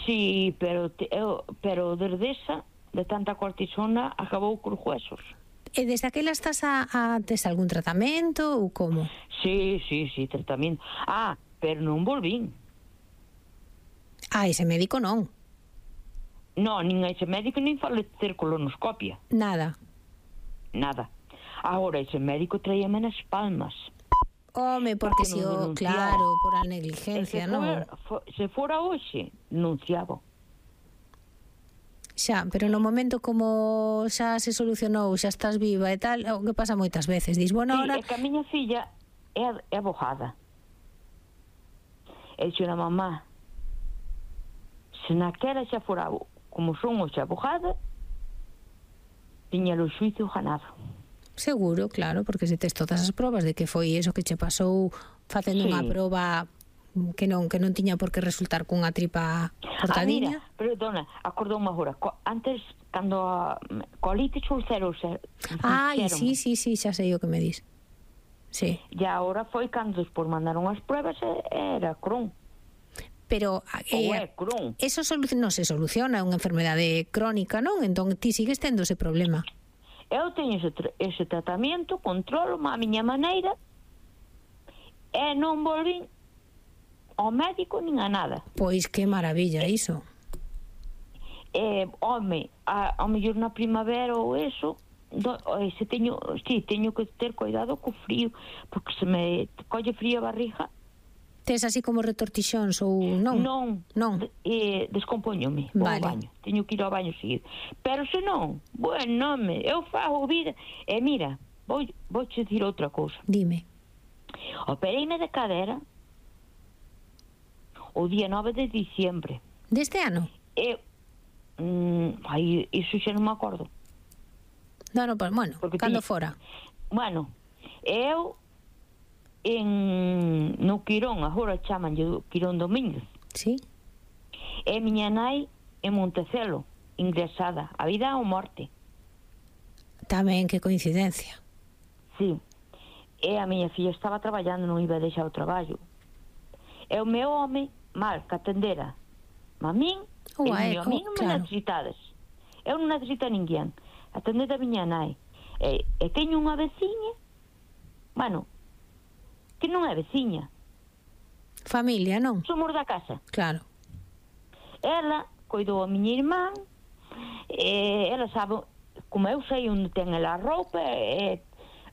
Sí, pero desde esa, de tanta cortisona, acabou cos huesos. E desde aquela estás a tes algún tratamento ou como? Sí, tratamento. Pero non volvín. Ese médico non. Non, nin a ese médico nin falei ter colonoscopia. Nada. Agora, ese médico traíame nas palmas. Home, porque si claro, por a negligencia, non? Se fora hoxe, denunciaba. Xa, pero no momento como xa se solucionou, xa estás viva e tal, o que pasa moitas veces, dis, bueno, ahora... Sí, é que a miña filla é abogada. E dixo na mamá, se naquela xa fora como son hoxe abogada, tiña o xuizo ganado. Seguro, claro, porque se tes todas as probas de que foi eso que che pasou facendo unha proba que non tiña por que resultar cunha tripa cortadiña. Mira, perdona, acordoume agora, antes, cando colitis ulcerosa... sí, xa sei o que me dis. Sí. E agora foi cando despois mandaron as pruebas, era Crohn. Pero eso non se soluciona, é unha enfermedade crónica, non? Entón ti sigues tendo ese problema. Eu teño ese tratamento, controlo a miña maneira e non volvín ao médico nin a nada. Pois que maravilla iso. Ao mellor na primavera ou eso, teño que ter cuidado co frío, porque se me colle frío a barriga. Tes así como retortixóns ou non? Non. Descompóñome ao baño. Teño que ir ao baño seguido. Pero se non, eu fago vida. E mira, vou te dicir outra cousa. Dime. Opereime de cadera o día 9 de diciembre. Deste ano? Iso xa non me acordo. Bueno, cando fora? Bueno, eu no Quirón, agora chamanlle Quirón Domínguez. Sí. E miña nai en Montecelo, ingresada, a vida ou morte. Tamén, que coincidencia. Sí. E a miña filla estaba traballando, non iba a deixar o traballo. E o meu home, mal, que atendera a min, a min non me necesitades. Eu non necesito a ninguén. Atender a miña nai. E teño unha veciña, que non é veciña. Familia, non? Somos da casa. Claro. Ela coidou a miña irmán, ela sabe, como eu sei onde ten ela a roupa,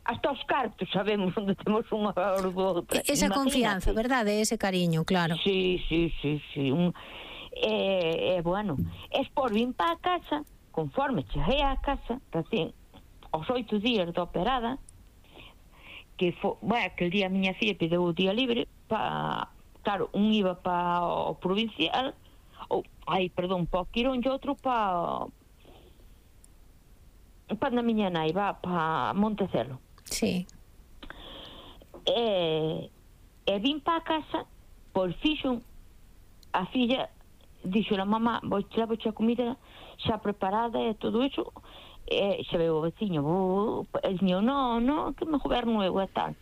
hasta os cartos sabemos onde temos unha ou outra. Esa confianza, verdade? Ese cariño, claro. Sí. Bueno, por vim para a casa, conforme cheguei á casa, recién, aos 8 días de operada, que aquel día a miña filla pideu o día libre claro, un iba para o provincial para o Quirón e outro para a miña nai va para Montecelo. Sí. E vim para a casa, por fixo a filla dixo a mamá, levo-che a comida xa preparada e todo iso. Xa veo o veciño, el niño, no, que me goberno eu e tal.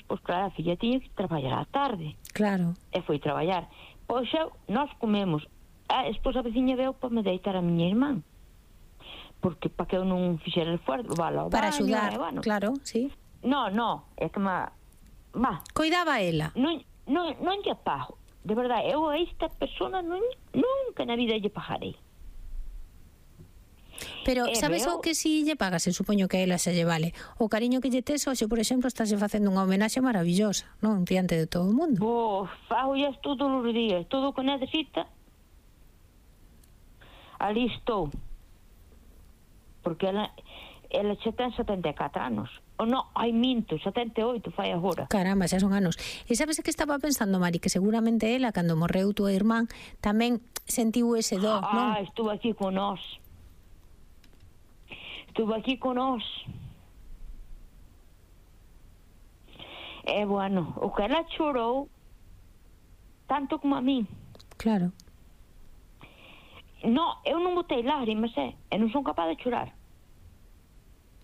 Pois claro, a filla tiña que traballar á tarde. Claro. E foi traballar. Pois nós comemos. Despois a veciña veu para me deitar a miña irmán. Porque para que eu non fixera esforzo, para axudar, claro, sí. No, é que coidaba ela. Non lle pago. De verdade, eu a esta persona nunca na vida lle pagarei. Pero sabes o que si lle pagas? Supoño que a ela se lle vale. O cariño que lle tes, hoxe, por exemplo, estás facendo unha homenaxe maravillosa, non? Diante de todo o mundo. Fago todos os días, todo o que necesita. Ali estou. Porque ela xa ten 74 anos. Minto, 78 fai agora. Caramba, xa son anos. E sabes que estaba pensando, Mari, que seguramente ela, cando morreu tua irmán, tamén sentiu ese do, non? Estuvo aquí con nós. E bueno, o que ela chorou tanto como a mí. Claro. Eu non botei lágrimas, e non son capaz de chorar.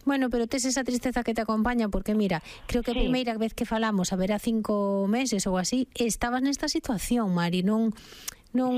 Bueno, pero tes esa tristeza que te acompaña, porque mira, creo que a primeira vez que falamos, a ver, a 5 meses ou así, estabas nesta situación, Mari, non